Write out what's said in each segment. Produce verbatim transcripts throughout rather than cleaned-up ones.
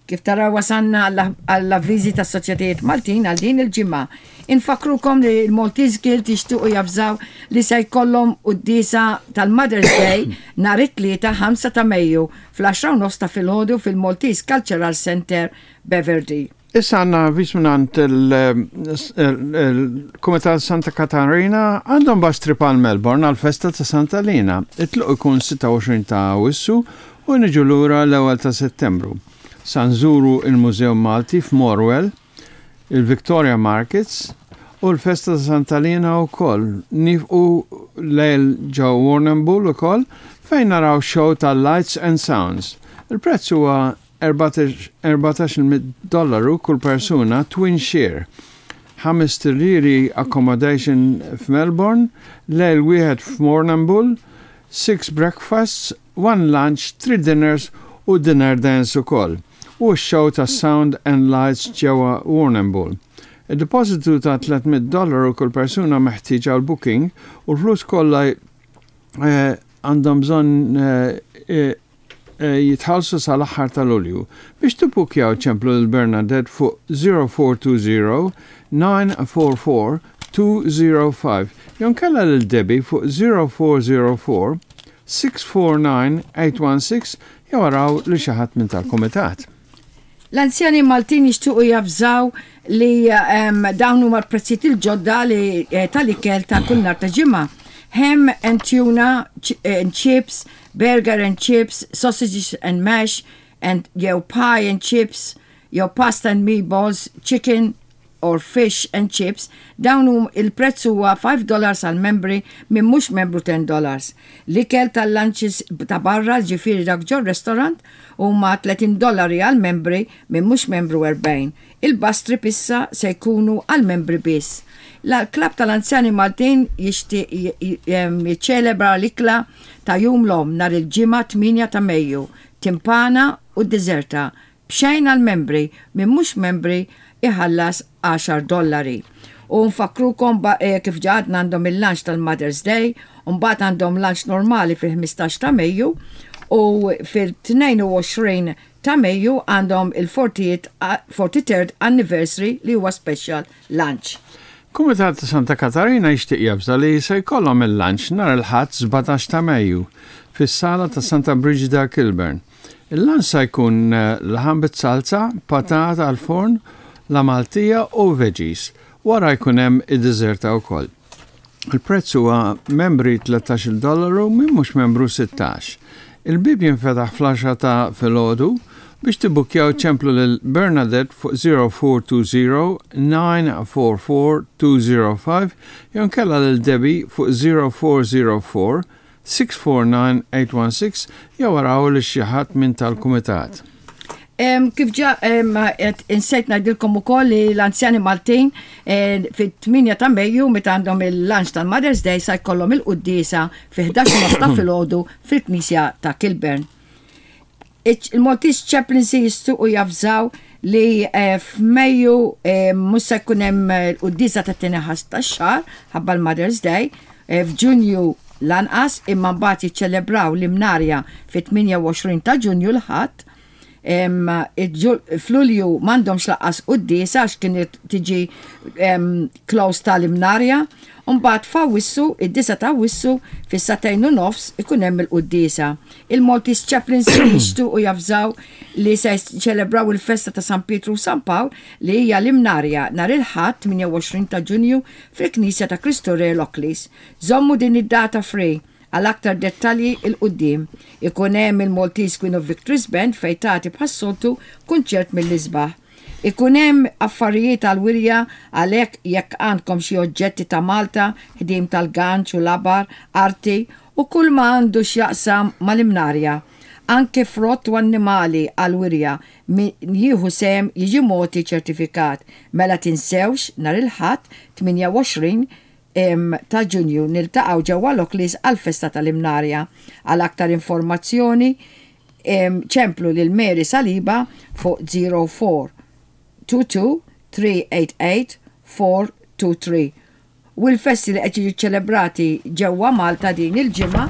Kif taraw, wasanna għall-avviżi ta' soċjetajiet Maltin għal din il-ġimgħa. Infakkrukom li l-Maltese Guild jixtiequ javżaw li se jkollhom quddiesa tal-Mother's Day nhar it-Tlieta ħamsa ta' Mejju fl-għaxra u nofs ta' filgħodu fil-Maltese Cultural Center, Beverly. Issa għandna avviż mingħand il-Kumitat Santa Katarina. Għandhom bus trip għal Melbourne għal-festa ta' Santa Lina. It-tluq ikun sitta u għoxrin ta' Awwissu u niġu lura l-ewwel ta' Settembru. Sa nżuru il-Mużew Malti f'Morwell, il-Victoria Markets u l-festa ta' Santa Lina u koll. Nieqfu lejl ġo Warrnambool u koll fejn naraw show ta' Lights and Sounds. Il-prezz huwa erbatax-il dollaru kull persuna, twin share. Ħames liri accommodation f'Melbourne, lejl wieħed f'Warrnambool, six breakfasts, one lunch, three dinners u dinner dance ukoll. U show ta' Sound and Lights ġewwa Warrnambool. Il-depositu ta' tliet mitt dollaru kull persuna meħtieġ għal booking u l-flus kollha eh, għandhom bżonn eh, eh, jitħallsu sal-aħħar tal-Lulju. Biex tibbukjaw, ċemplu lil Bernadette fuq zero four two zero nine four four two zero five jew inkella lil Debbie fuq zero four zero four six four nine eight one six jew araw lil xi ħadd minn tal-komitat. L-Anzjani Maltin jixtiequ javżaw li um, dawn huma l-prezzijiet il-ġodda li eh, tal-ikel ta' kull nhar ta' ġimgħa. Ham and tuna ch and chips, burger and chips, sausages and mash, and jew pie and chips, jew pasta and meatballs, chicken or fish and chips, dawn hum il-prezz huwa five dollars għal membri, minn mhux membru ten dollars. L-ikel tal-lunches ta' barra, ġifieri dak ġo restaurant, huma tletin dollari għal membri, minn mhux membru erbgħin. Il-bus trip issa se jkunu għal membri biss. Il-Klabb tal-Anzjani Maltin jixtieq jiċċelebra l-ikla ta' Jum l-Omm nhar il-Ġimgħa tmienja ta' Mejju, timpana u dessert b'xejn għal membri, minn mhux membri iħallas għaxar dollari. U nfakkrukom eh, kif għedna, għandhom il-lunch tal-Mother's Day, u mbagħad għandhom lunch normali fil-ħmistax ta' Mejju u fil-tnejn u għoxrin ta' Mejju għandhom il-forty-third anniversary li huwa special lunch. Kumitat ta' Santa Katarina jixtieq javża li se jkollhom il-lunch nhar il-Ħadd sbatax ta' Mejju fis-sala ta' Santa Brigida, Kilburn. Il-lunch se jkun eh, laħam bit-salza, patata għal-forn, la Maltija u veggies. Wara jkun hemm id-deżerta wkoll. Il-prezz huwa membri tlettax-il dollaru, minn mhux membru sittax. Il-bib jinfetaħ fl-għaxra ta' filgħodu. Biex tibbukjaw, ċemplu lil Bernadette fuq zero four two zero nine four four two zero five jew inkella lil Debbie fuq zero four zero four six four nine eight one six jew araw lil xi ħadd minn tal-kumitat. Em, kif ġa em, qed insejt ngħidilkom ukoll li l-Anzjani Maltin eh, fit-tmienja ta' Mejju, meta għandhom il-lunch tal-Mother's Day, sa jkollhom il-quddiesa fi ħdax ta' filgħodu fil-Knisja ta' Kilburn. Il-Maltese Chaplaincy jixtiequ javżaw li eh, f'Mejju eh, mhux se jkun hemm l-quddiesa ta' tieni Ħadd tax-xahar ħabba l-Mother's Day, eh, f'Ġunju lanqas, imma mbagħad jiċċelebraw l-Imnarja fit-tmienja u għoxrin ta' Ġunju, l-Ħadd. Em, il-ġu- F'Lulju m'għandhomx lanqas quddiesa għax kienet tiġi em, close tal-Imnarja. Mbagħad f'Awwissu, id-disgħa ta' Awwissu, fis-sagħtejn u nofs ikun hemm il-quddiesa. Il-Maltese Chaplaincy jixtiequ javżaw li se ċelebraw il-festa ta' San Pietru u San Pawl, li hija l-Imnarja, nhar il-Ħadd tmienja u għoxrin ta' Ġunju fil-Knisja ta' Kristu Re, Lockleys. Żommu din id-data free għal aktar dettalji 'l quddiem. Ikun hemm il-Maltese Queen of Victories Band fejn tagħti bħas-soltu kunċert mill-isbaħ. Ikun hemm affarijiet għal wirja, għalhekk jekk għandkom xi oġġetti ta' Malta, ħdim tal-ganċ u labar, arti u kull ma għandu x'jaqsam mal-Imnarja. Anke frott u annimali għal wirja, min jieħu sehem jiġi mogħti ċertifikat. Mela tinsewx, nhar il-Ħadd tmienja u għoxrin em, ta' Ġunju niltaqgħu ġewwa Lockleys għal-festa tal-Imnarja. Għal aktar informazzjoni em, ċemplu lil Mary Saliba fuq zero four two two three eight eight four two three. U l-festi li qed jiġu ċelebrati ġewwa Malta din il-ġimgħa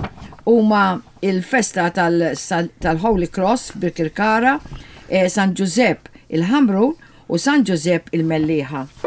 huma il-festa tal-Holy Cross f'Birkirkara, eh, San Giuseppe il-Ħamrun u San Giuseppe il-Mellieħa.